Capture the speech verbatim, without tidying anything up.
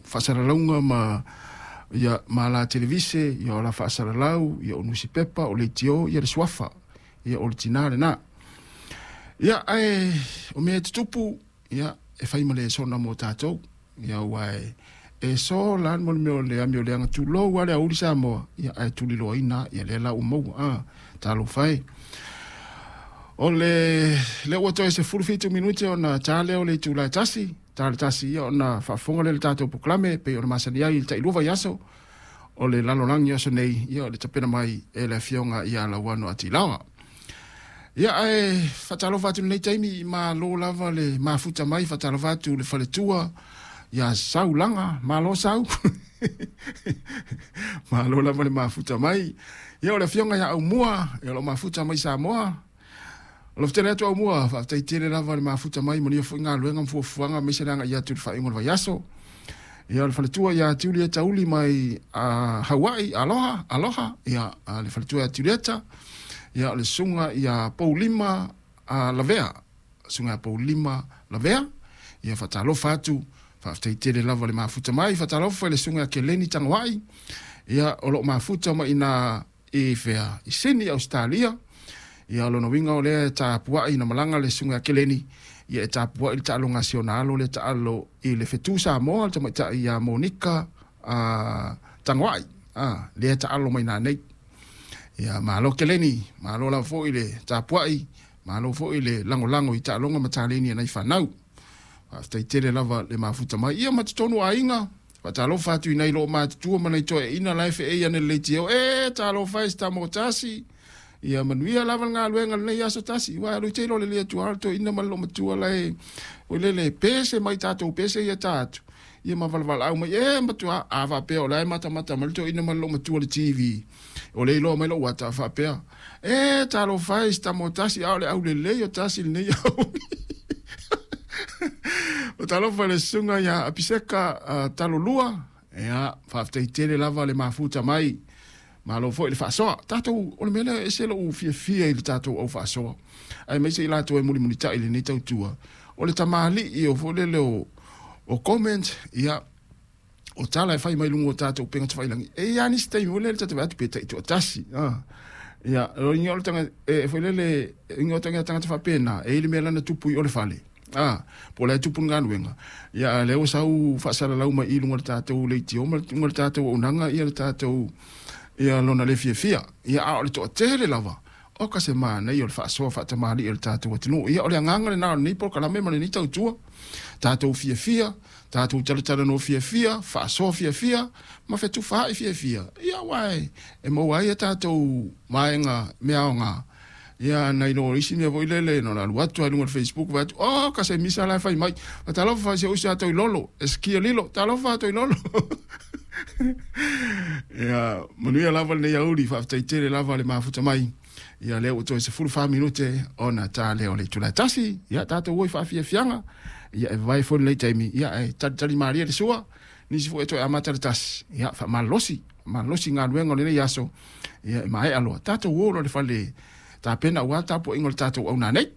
faasalalauga ma ia ma ala televise, ia o ala faasalalau, ia o nusipepa, o leitio, ia le suafa, ia o le tinā lenā. Ia ae o mea e tutupu, ia e fai ma le sona mo tatou, ia ua e e sola le mo le mea o le amio leaga tulou a le aoauli Samoa, ia ae tuliloaina ia lea la ua maua a talofa e. O le lea ua toe sefulu fitu minute ona ta lea o le itula e tasi, ta le tasi ia ona faafofoga lea i le tatou polokalame pei ona masani ai i le tailua vaiaso o le lalolagi o aso nei, ia o le tapena mai e le afioga ia Lauano Atilaoa. Ia ae faatalofa atu i lenei taimi, malo lava le mafuta mai, faatalofa atu le faletua ia Saulaga, malo Sau. Malo lava le mafuta mai. Ia o le afioga ia Aumua, ia o lo o mafuta mai Samoa. O lo tele atu Aumua, faafetai tele lava le mafuta mai, manuia foi galuega ma fuafuaga aemaise le agai atu i le faaiuga o le vaiaso. Ia o le faletua ia Julieta Uli mai uh, Hawaii, aloha, aloha. Ia uh, le faletua ia Julieta. Ia o le susuga ia Paulima uh, Lavea, susuga ia Paulima Lavea. Ia faatalofa atu, faafetai tele lava le mafuta mai, faatalofa i le susuga ia Keleni Tagoai. Ia o lo o mafuta mai ina i fea, i Sydney, Australia. Ia o lona uiga o lea e tapuai ina malaga le susuga ia Keleni, ia e tapuai le taaloga a si ona alo lea taalo i le fetu Samoa, le tamaitai ia Monika uh, Tagoai, ah, lea e taalo mai nanei. Ia malo Keleni, malo lava foi le tapuai, malo foi le lagolago i taaloga ma taleni a nai fanau. Faafetai tele lava le mafuta mai. Ia ma totonu o aiga, faatalofa atu i nai loo matutua ma nai toeaiina la e feei ane le leitio. E talofa e se tama o tasi. Ia manuia lava le galuega lenei aso tasi. Ua alu te ilo le lia tua le toeaina ma le loomatua la e oi lele pese mai tatou pese ia ta atu. Ia ma valavala mai e matua a faapea o la e matamata mai le toeaina ma le loomatua le T V. O le iloa mai lou ata a faapea. E talofa e se tama o tasi a o le aulelei o tasi lenei au. O talofa le susuga ia Apiseka uh, Talolua. Ia faafetai tele lava le mafuta mai. Malo foi le faasoa. Tatou o le mea lea e ese lou fiafia i le tatou au faasoa. Aemaise i latou e mulimulitai i lenei tautua. O le tamalii o foi lele o, o comment, ia o tala e fai mai luga o tatou upega tafailagi. E i ai nisi taimi o lele tatou vaai atu pe taitoatasi. Ah. Ia, o inga o le tanga, e foi lele, inga o tanga tangata faapena, e i le mea lana tupu i o le fale. Ah, po o le tupu le galuega. Ia, lea ua sau faasalalau mai i luga o le tatou leitio ma luga o le tatou auaunaga, ia le tatou, ia lona le fiafia. Ia, a o le toatele lava, o ka se manaia o le faasoa faatamalii o le tatou atunuu. Ia, o le agaga lenā o lenei polokalame ma lenei tautua. Tatou fiafia, tatou talatalanoa fiafia, faasoa fiafia, ma fetufaai fiafia. Ia, aua e, e maua ai a tatou vaega mea aoga. Ia, nai lo isi mea foi lele, no la alu atu ai luga o le Facebook, vai atu, oh, ka se misa la e fai mai. Talofa se usi a Toilolo, e skia lilo, talofa a Toilolo. Ia, manuia lava lenei aoauli, faafetai tele lava le mafuta mai. Ia, lea ua toe sefulu fa minute ona ta lea o le itula e tasi. Ia, tatou o i faafiafiaga. Ia, e vavae foi lenei taimi. Ia, e talitali malie le sua. Nisi foi e toe amata le tasi. Ia, faamalolosi, malolosi galuega o lenei aso. Ia, e maea loa. Tatou o loa le fale tapena aua tapuaiga o le tatou auna nei.